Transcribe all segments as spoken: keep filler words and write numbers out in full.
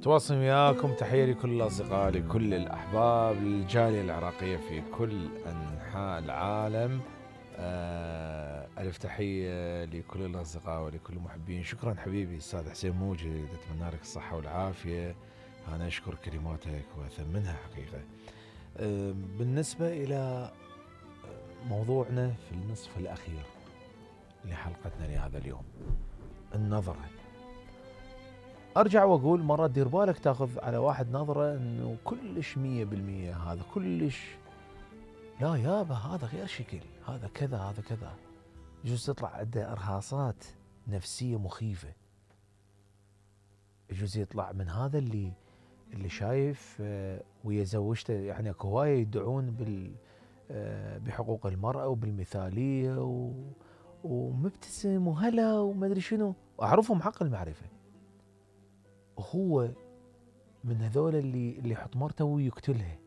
تواصل وياكم، تحية لكل الأصدقاء، لكل الأحباب، للجالية العراقية في كل أنحاء العالم. آه ألف تحية لكل الأصدقاء ولكل المحبين. شكرا حبيبي أستاذ حسين موجد، أتمنى لك الصحة والعافية. أنا أشكر كلماتك وأثمنها حقيقة. آه بالنسبة إلى موضوعنا في النصف الأخير لحلقتنا لهذا اليوم، النظرة. ارجع واقول مرة دير بالك تاخذ على واحد نظرة انه كلش مية بالمية، هذا كلش لا يابا، هذا غير شكل، هذا كذا، هذا كذا. يجوز تطلع عنده ارهاصات نفسية مخيفة. يجوز يطلع من هذا اللي اللي شايف ويا زوجته، يعني اكو هواية يدعون بال بحقوق المرأة وبالمثالية و ومبتسم وهلا وما ادري شنو، واعرفهم حق المعرفة. وهو من هذول اللي اللي يحط مرته ويقتلها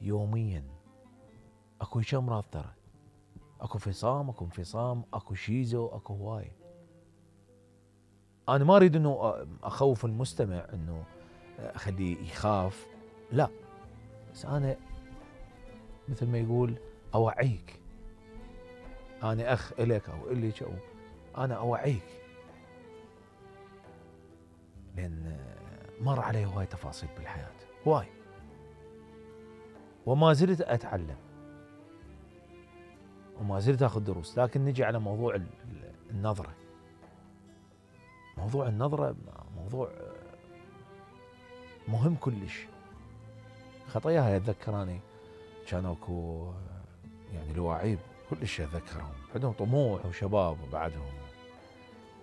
يوميا. اكو هيك امراض ترى، اكو فصام، اكو انفصام، اكو شيزو، اكو هواي. انا ما اريد انه اخوف المستمع انه اخليه يخاف، لا، بس انا مثل ما يقول اوعيك. انا اخ الك او الك، او انا اوعيك، لان مر علي هواي تفاصيل بالحياة، هواي، وما زلت اتعلم وما زلت اخذ دروس. لكن نجي على موضوع النظرة. موضوع النظرة موضوع مهم كلش. خطاياها اتذكراني كانوا اكو يعني الواعيب كلش اتذكرهم، عندهم طموح وشباب وبعدهم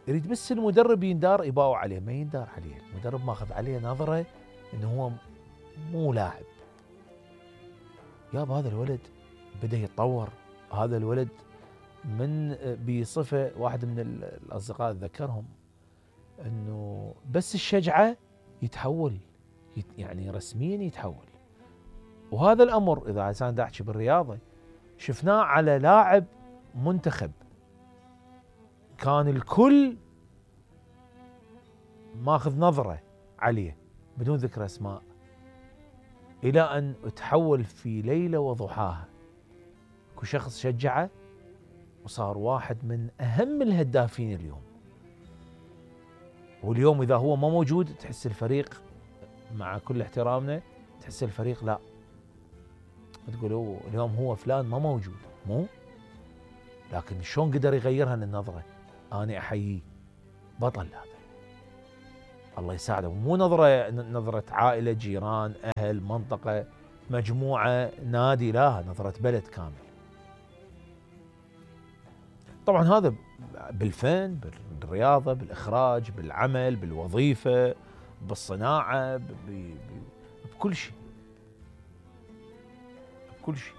يريد بس المدرب يندار يباوع عليه، ما يندار عليه. المدرب ماخذ عليه نظرة انه هو مو لاعب. ياب هذا الولد بدا يتطور، هذا الولد من بصفة واحد من الاصدقاء اتذكرهم انه بس الشجعة يتحول، يعني رسميا يتحول. وهذا الامر اذا عشان احكي بالرياضة شفناه على لاعب منتخب كان الكل ماخذ نظرة عليه بدون ذكر اسماء، الى ان تحول في ليلة وضحاها. كل شخص شجعه وصار واحد من اهم الهدافين اليوم. واليوم اذا هو ما موجود تحس الفريق، مع كل احترامنا، تحس الفريق لا، تقول اليوم هو فلان ما موجود، مو لكن شلون قدر يغيرها للنظرة. انا احييه، بطل هذا، الله يساعده. مو نظرة نظرة عائلة، جيران، اهل، منطقة، مجموعة، نادي، لا، نظرة بلد كامل. طبعا هذا بالفن، بالرياضة، بالاخراج، بالعمل، بالوظيفة، بالصناعة، بكل شيء، بكل شيء.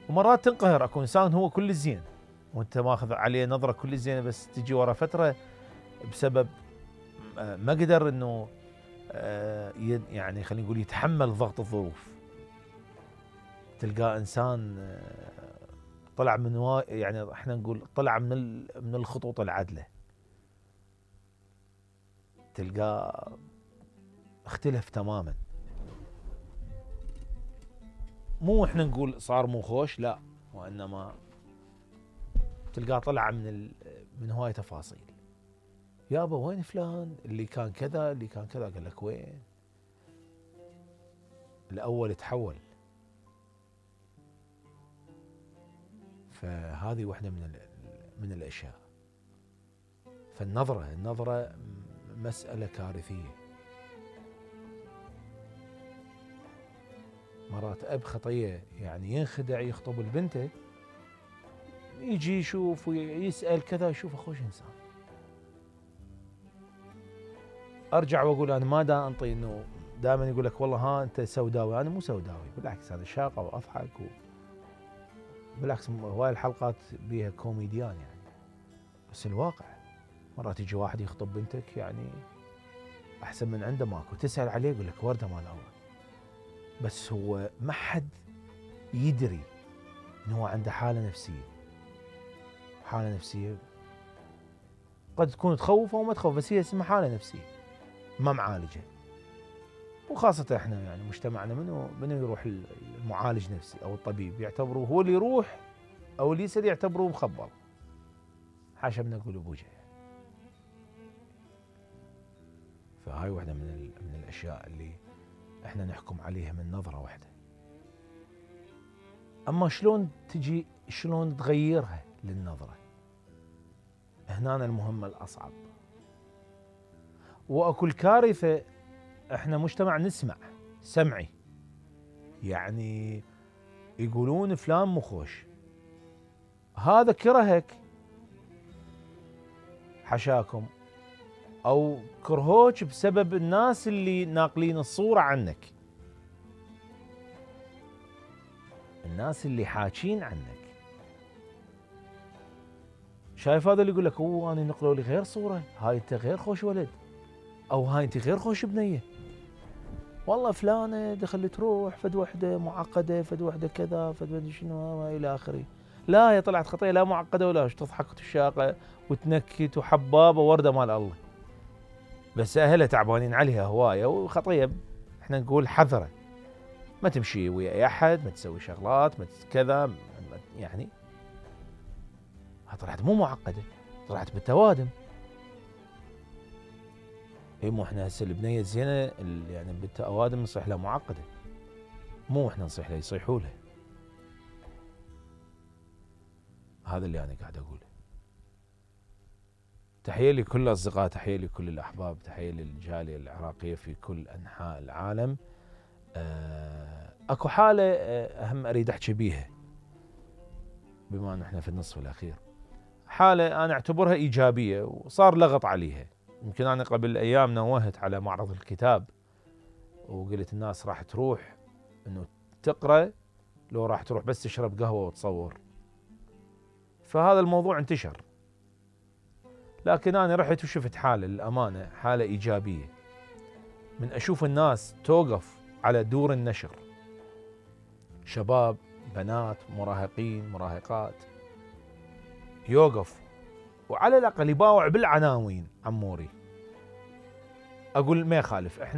ومرات تنقهر، اكو انسان هو كل زين وانت ماخذ عليه نظرة كل زينة، بس تجي ورا فترة بسبب ما قدر انه يعني خلينا نقول يتحمل ضغط الظروف. تلقى انسان طلع من وا... يعني احنا نقول طلع من من الخطوط العدلة، تلقاه اختلف تماما. مو احنا نقول صار مو خوش، لا، وانما تلقاه طلع من ال... من هواي تفاصيل. يابا وين فلان اللي كان كذا، اللي كان كذا؟ قال لك وين؟ الاول تحول. فهذه واحدة من من الاشياء. فالنظرة النظرة مسألة كارثية. مرات اب خطية يعني ينخدع، يخطب البنته، يجي يشوف ويسأل كذا، يشوف اخوش انسان. ارجع واقول انا ما دا انطي انه دائما يقول لك والله ها انت سوداوي. انا مو سوداوي، بالعكس انا شاقة واضحك و... بالعكس هواي الحلقات بيها كوميديان يعني. بس الواقع مرات يجي واحد يخطب بنتك يعني احسن من عنده ماكو، تسأل عليه يقول لك وردة مال الله، بس هو ما حد يدري انه هو عنده حالة نفسية، حالة نفسية قد تكون تخوف او ما تخوف، بس هي اسمها حاله نفسيه ما معالجه. وخاصه احنا يعني مجتمعنا منو منو يروح المعالج نفسي او الطبيب، يعتبروه هو اللي يروح او اللي يصير يعتبروه مخبل. حاشا من اقول بوجه. فهاي واحده من من الاشياء اللي احنا نحكم عليها من نظره واحده. اما شلون تجي، شلون تغيرها للنظره، هنا المهمه الاصعب. واكو الكارثه، احنا مجتمع نسمع سمعي، يعني يقولون فلان مو خوش، هذا كرهك حشاكم، او كرهوك بسبب الناس اللي ناقلين الصوره عنك، الناس اللي حاكين عنك. شايف هذا اللي يقول لك اوه انا نقلوا لي غير صوره، هاي انت غير خوش ولد، او هاي انت غير خوش بنيه، والله فلانه دخلت تروح فد وحده معقده، فد وحده كذا، فد وحده شنو الى اخره. لا هي طلعت خطيه، لا معقده ولا تضحك وتشاقه وتنكت وحبابه ورده مال الله، بس اهلها تعبانين عليها هوايه وخطيه. احنا نقول حذره، ما تمشي ويا اي احد، ما تسوي شغلات، ما كذا، يعني طلعت مو معقده، طلعت بالتوادم. اي مو احنا هسه البنيه الزينه يعني بالتوادم نصيح لها معقده، مو احنا نصيح لها، يصيحوا لها. هذا اللي انا قاعد اقوله. تحيه لكل الاصدقاء، تحيه لكل الاحباب، تحيه للجاليه العراقيه في كل انحاء العالم. أه اكو حاله اهم اريد احكي بيها بما ان احنا في النصف الاخير. حاله انا اعتبرها ايجابيه وصار لغط عليها. يمكن انا قبل ايام نوهت على معرض الكتاب وقلت الناس راح تروح انه تقرا لو راح تروح بس تشرب قهوه وتصور. فهذا الموضوع انتشر، لكن انا رحت وشفت حاله للامانه، حاله ايجابيه، من اشوف الناس توقف على دور النشر، شباب، بنات، مراهقين، مراهقات، يوقف وعلى الاقل يباوع بالعناوين. عموري اقول ما يخالف، احنا